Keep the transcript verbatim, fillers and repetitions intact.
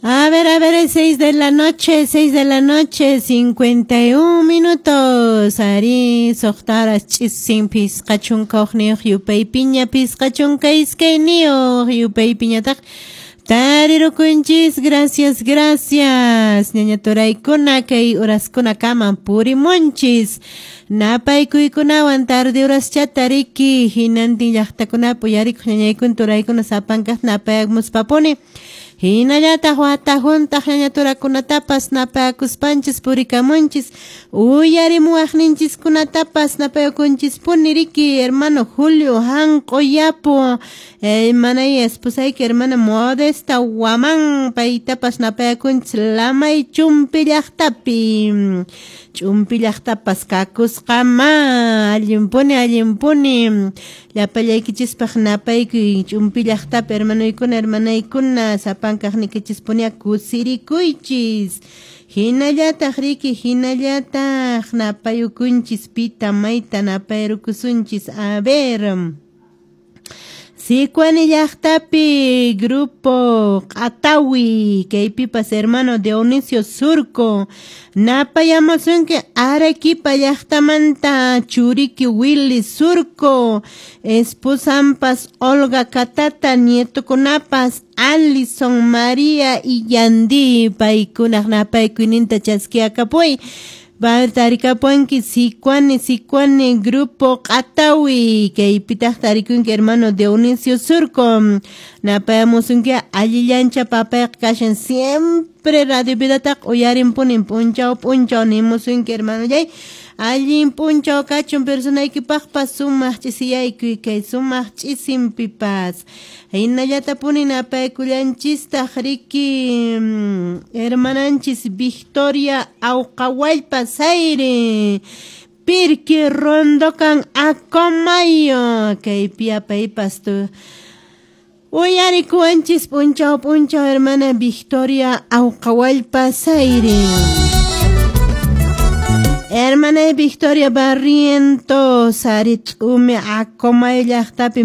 A ver, a ver, es seis de la noche, seis de la noche, cincuenta y un minutos. Ari, suqta horas ch'isin phisqa chunka hukniyuq yupaypiña, phisqa chunka iskayniyuq yupaypiñataq tarirukunchis. Gracias, gracias. Ñaña turaykuna kay horaskunakaman purimunchis. Napaykuykunawan tarde horaschata riki hinantin llaqtakunapi uyarikuq ñañaykuna turaykuna sapankaq napayamuspapuni. Hinallataq wata huntaq ñaña turakunatapas napayakuspanchis purikamunchis, uyarimuwaqninchiskunatapas napayakunchispuni riki hermano Julio Hanq'uyapu, hermana y esposayki hermana Modesta Guamán, paytapas napayakunchis Lamay Chumpi llaqtapi. Chumpi llaqtapas kakusqama, allinpuni, allinpuni. Llapallaykichispaq napaykuy Chumpi llaqtapi hermanoykuna, hermanaykuna, sapankaqnikichispuni kusirikuychis. Hinallataq riki, hinallataq napayukunchis pita mayta napayrukusunchis. A ver, Sicuani llaqtapi grupo Q'atawi, kaypipas hermano Dionisio Surco, napayamusunki Arequipa llaqtamanta churiki Willy Surco, esposampas Olga Katata, nietokunapas Alison María y Yandi, paykunaq napaykuyninta chaskiakapuy. Tarikapuanki Sicuani, Sicuani, grupo Q'atawi, kaypitaq tarikunki hermano Dionisio Surco, napayamusunki allillancha papayqa kashan siempre Radio Vidataq uyarinpunin p'unchaw p'unchaw nimusunki hermanollay, allin p'unchaw kachun personaykipaqpas sumaq ch'isiyaykuy kay sumaq ch'isinpipas. Hinallatapuni napaykullanchistaq riki hermananchis Victoria Awqawallpa Sayri, Pirqui Rondokan Acomayo, kaypi apaypas tu uyarikuwanchis p'unchaw p'unchaw hermana Victoria Awqawallpa Sayri. Hermana Victoria Barrientos, Ari T'umi Acomayo llaqtapi.